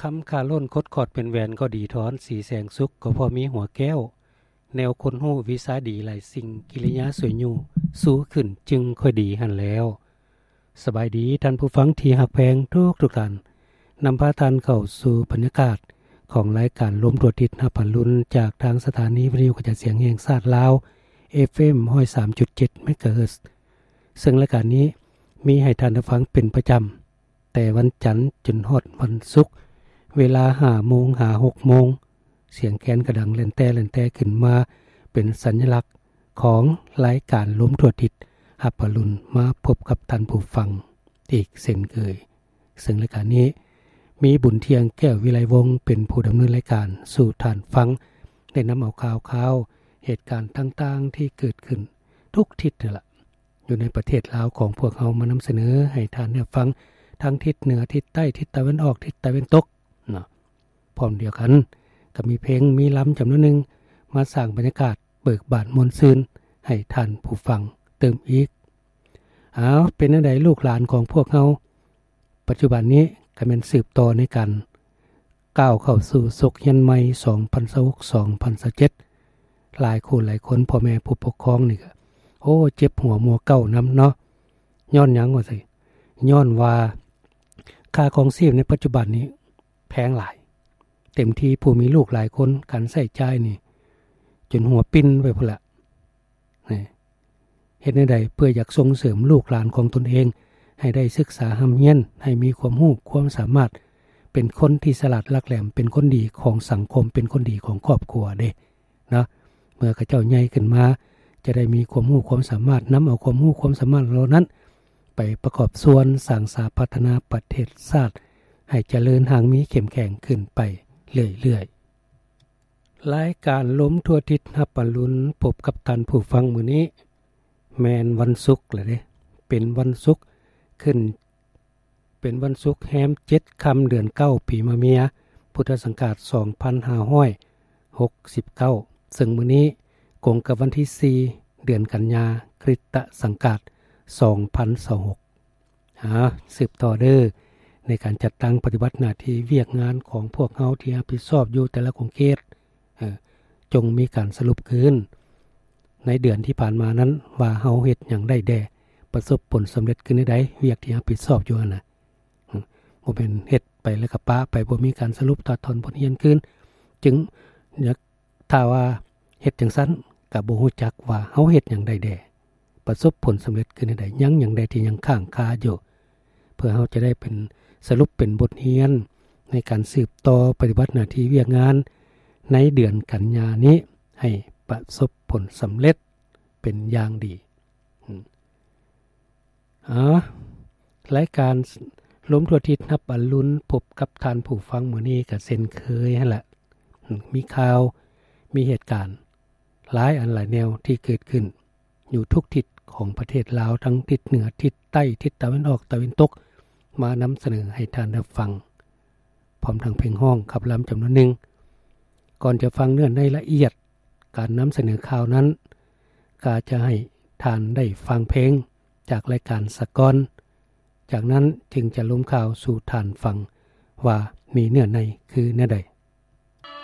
ຄຳຄາລົ້ນ ຄົດຂອດເປັນແຫວນ ກໍດີທອນ ສີແສງສຸກ ກໍພໍມີຫົວແກ້ວ ແນວຄົນຮູ້ວິຊາດີ ຫຼາຍສິ່ງກິລິຍາສວຍຢູ່ ຊູຂຶ້ນຈຶ່ງຄ່ອຍດີຫັ້ນແລ້ວ. ສະບາຍດີທ່ານຜູ້ຟັງທີ່ຮັກແພງທຸກໆທ່ານ, ນຳພາທ່ານເຂົ້າສູ່ບັນຍາກາດຂອງລາຍການລົມທົ່ວທິດ ຮັບອະລຸນ ຈາກທາງສະຖານີວິທະຍຸກະຈາຍສຽງແຫ່ງຊາດລາວ ເອຟເອັມ ຮ້ອຍສາມຈຸດເຈັດ ເມກາເຮີດ, ເຊິ່ງລາຍການນີ້ມີໃຫ້ທ່ານໄດ້ຟັງເປັນປະຈຳ ແຕ່ວັນຈັນຈົນຮອດວັນສຸກ ເວລາຫ້າໂມງຫາຫົກໂມງ, ສຽງແຄນກະດັງແລ່ນແຕ້ແລ່ນແຕ້ຂຶ້ນມາ ເປັນສັນຍະລັກຂອງລາຍການລົມທົ່ວທິດ ຮັບອະລຸນ ມາພົບກັບທ່ານຜູ້ຟັງອີກເຊັ່ນເຄີຍ. ເຊິ່ງລາຍການນີ້ມີບຸນທ່ຽງ ແກ້ວວິໄລວົງ ເປັນຜູ້ດຳເນີນລາຍການ ສູ່ທ່ານຟັງ ໄດ້ນຳເອົາຂ່າວຄາວ ເຫດການຕ່າງໆທີ່ເກີດຂຶ້ນທຸກທິດນັ້ນລະ ຢູ່ໃນປະເທດລາວຂອງພວກເຮົາ ມານຳສະເໜີໃຫ້ທ່ານໄດ້ຟັງ ທັງທິດເໜືອ, ທິດໃຕ້, ທິດຕາເວັນອອກ, ທິດຕາເວັນຕົກເນາະ. ພ້ອມດຽວກັນກໍມີເພງ, ມີລຳຈຳນວນໜຶ່ງ ມາສ້າງບັນຍາກາດເບີກບານມ່ວນຊື່ນໃຫ້ທ່ານຜູ້ຟັງຕື່ມອີກ. ອ້າວ, ເປັນແນວໃດລູກຫຼານຂອງພວກເຮົາ ປັດຈຸບັນນີ້ກໍແມ່ນສືບຕໍ່ໃນການ ກ້າວເຂົ້າສູ່ສົກຮຽນໃໝ່ ສອງພັນຊາວຫົກ ສອງພັນຊາວເຈັດ ຫຼາຍຄູ່ຫຼາຍຄົນ ພໍ່ແມ່ຜູ້ປົກຄອງນີ້ກໍ ໂອ້ ເຈັບຫົວມົວເກົ້ານຳເນາະ. ຍ້ອນຫຍັງວ່າຊັ້ນ? ຍ້ອນວ່າຄ່າຄອງຊີບໃນປັດຈຸບັນນີ້ແພງຫຼາຍ, ເຕັມທີ່ຜູ້ມີລູກຫຼາຍຄົນ ການໃຊ້ຈ່າຍນີ້ຈົນຫົວປິ່ນໄປພຸ້ນລະ. ເຮັດແນວໃດເພື່ອຢາກສົ່ງເສີມລູກຫຼານຂອງຕົນເອງໃຫ້ໄດ້ສຶກສາຮ່ຳຮຽນ, ໃຫ້ມີຄວາມຮູ້ຄວາມສາມາດ, ເປັນຄົນທີ່ສະຫຼາດຫຼັກແຫຼມ, ເປັນຄົນດີຂອງສັງຄົມ, ເປັນຄົນດີຂອງຄອບຄົວເດ້ເນາະ. ເມື່ອເຂົາເຈົ້າໃຫຍ່ຂຶ້ນມາ ຈະໄດ້ມີຄວາມຮູ້ຄວາມສາມາດ, ນຳເອົາຄວາມຮູ້ຄວາມສາມາດເຫຼົ່ານັ້ນໄປປະກອບສ່ວນສ້າງສາພັດທະນາປະເທດຊາດ ໃຫ້ຈະເລີນຮັ່ງມີເຂັ້ມແຂງຂຶ້ນໄປເລື້ອຍໆ. ລາຍການລົມທົ່ວທິດຮັບອະລຸນ ພົບກັບທ່ານຜູ້ຟັງມື້ນີ້ ແມ່ນວັນສຸກແລ້ວເດ້, ເປັນວັນສຸກຂຶ້ນ ເປັນວັນສຸກແຮມເຈັດຄ່ຳເດືອນເກົ້າ ປີມະເມຍ ພຸດທະສັງກາດສອງພັນຫ້າຮ້ອຍຫົກສິບເກົ້າ ເຊິ່ງມື້ນີ້ກົງກັບວັນທີສີ່ ເດືອນກັນຍາ ຄຣິສຕະສັງກາດສອງພັນຊາວຫົກ. ຫາສືບຕໍ່ເດີ ໃນການຈັດຕັ້ງປະຕິບັດໜ້າທີ່ວຽກງານຂອງພວກເຮົາທີ່ຮັບຜິດຊອບຢູ່ແຕ່ລະຂົງເຂດ ເອີ ຈົ່ງມີການສະຫຼຸບຄືນໃນເດືອນທີ່ຜ່ານມານັ້ນ ວ່າເຮົາເຮັດຫຍັງໄດ້ແດ່ ປະສົບຜົນສຳເລັດຄືນໃດ ວຽກທີ່ຮັບຜິດຊອບຢູ່ຫັ້ນນະ. ບໍ່ແມ່ນເຮັດໄປແລ້ວກໍປະໄປ ບໍ່ມີການສະຫຼຸບຕັດທອນບົດຮຽນຄືນ ຈຶ່ງ ຖ້າວ່າເຮັດຈັ່ງຊັ້ນ ກໍບໍ່ຮູ້ຈັກວ່າເຮົາເຮັດຫຍັງໄດ້ແດ່ ປະສົບຜົນສຳເລັດຄືນໃດ ຍັງຫຍັງແດ່ທີ່ຍັງຄ້າງຄາຢູ່ ເພື່ອເຮົາຈະໄດ້ເປັນ ສະຫຼຸບເປັນບົດຮຽນ ໃນການສືບຕໍ່ປະຕິບັດໜ້າທີ່ວຽກງານ ໃນເດືອນກັນຍານີ້ ໃຫ້ປະສົບຜົນສຳເລັດເປັນຢ່າງດີ. ອາ ລາຍການລົມທົ່ວທິດຮັບອະລຸນ ພົບກັບທ່ານຜູ້ຟັງມື້ນີ້ກໍເຊັ່ນເຄີຍຫັ້ນລະ ມີຂ່າວ ມີເຫດການຫຼາຍອັນຫຼາຍແນວທີ່ເກີດຂຶ້ນຢູ່ທຸກທິດຂອງປະເທດລາວ ທັງທິດເໜືອ, ທິດໃຕ້, ທິດຕາເວັນອອກ, ຕາເວັນຕົກ ມານຳສະເໜີໃຫ້ທ່ານໄດ້ຟັງ ພ້ອມທັງເພງຮ້ອງຂັບລຳຈຳນວນໜຶ່ງ. ກ່ອນຈະຟັງເນື້ອໃນລະອຽດການນຳສະເໜີຂ່າວນັ້ນ ກໍຈະໃຫ້ທ່ານໄດ້ຟັງເພງຈາກລາຍການສາກ່ອນ, ຈາກນັ້ນຈຶ່ງຈະລົມຂ່າວສູ່ທ່ານຟັງວ່າມີເນື້ອໃນຄືແນວໃດ.